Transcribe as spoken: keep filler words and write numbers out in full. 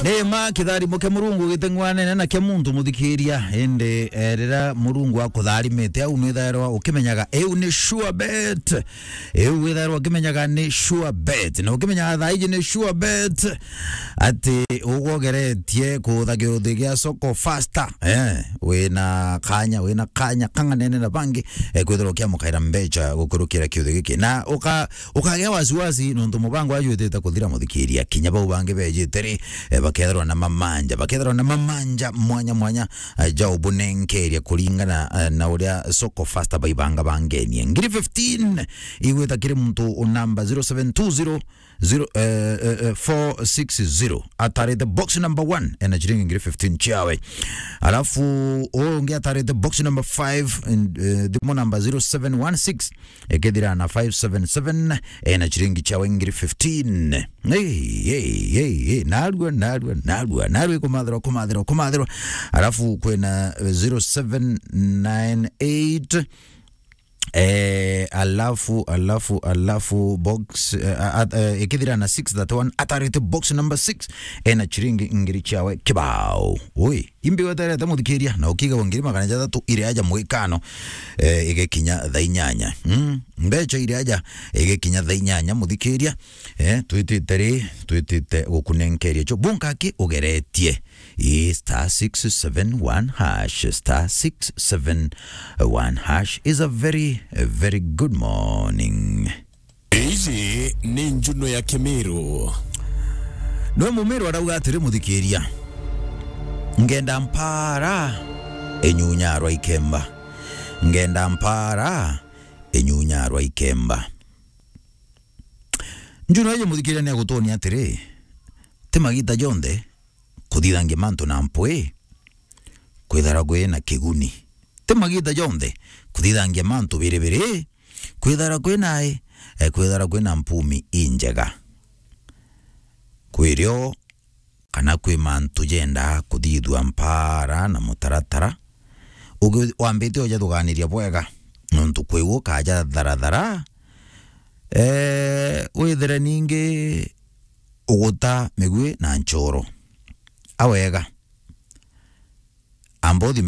Ni ma kitharimo kia Murungu giteng'wanene na kia muntu, muthikiria. Indi, eh, riria Murungu akutharimite, au nwithairwa ukimenyaga iu ni sure bet. Iu withairwa ukimenyaga ni sure bet. Na ukimenyaga thaa iji ni sure bet ati ugwogeretie kuutha kiuthi gia Soko Faster. Eh, wina kanya, wina kanya kang'anene na bangi, eh, kwithirwa ukiamukaira mbecha gukurukira kiuthi giki. Na uka-, ukagea wasiwasi nontu mubango waju witite kuthira, muthikiria. Kinya bau bangi bejite ri, eh, bakethirwa na mamanja, bakethirwa na mamanja mwanya mwanya, eh, ja ubunenkeria kuringana, eh, na uria Soko Faster baibanga bangenie. Ngiri fifteen igwita kiri muntu namba zero seven two zero zero, eh, eh, eh, four six zero. Atarite box number one, ena chiringi ngiri fifteen chiawe. Alafu, uyu ungi atarite box number five, and, eh, thimu namba zero seven one six, ikithira na five seven seven, ena chiringi chiawe ngiri fifteen. Hey, hey, hey, hey. Narua, narua, narua, narua, kumathirwa, kumathirwa, kumathirwa. Alafu, kwina, eh, zero seven nine eight, Eh, alafu, alafu, alafu box, eh, a-, a-, eh, ikithira na six thirty-one, atarite box number six, ena chiringi ngiri chiawe kibao. Ui, imbi weterete, muthikiria, na ukiga wa ngiri magana jathatu iri aja mwikano, eh, igekinya thaa inyanya. Mm, mbecha iri aja igekinya thaa inyanya, muthikiria. Eh, twitite ri, twitite gukunenkeria cho. Bunka ki ugeretie. Ii, star six seven one hash, star six seven one hash is a very, a very good morning. Iji ni Njuno ya Kimiru. Nwe Mumiru arauga atiri, muthikiria, ngenda mpara inyunyarwa ikemba. Ngenda mpara inyunyarwa ikemba. Njuno iji, muthikiria, ni agutonia atiri, ti magita jonthe kuthithangia mantu na mpwi kwithara kwi na kiguni. Ti magita jonthe kuthithangia mantu biribiri kwithara kwi na ai, eh, kwithara kwi na mpumi injega. Kwirio kana kwi mantu jenda kuthithua mpara na mutaratara, ugi-, wambite ujathuganiria bwega, nontu kwi ukaja tharathara, eh, withire ningi uguta migui na nchoro. Awega. Amba uthi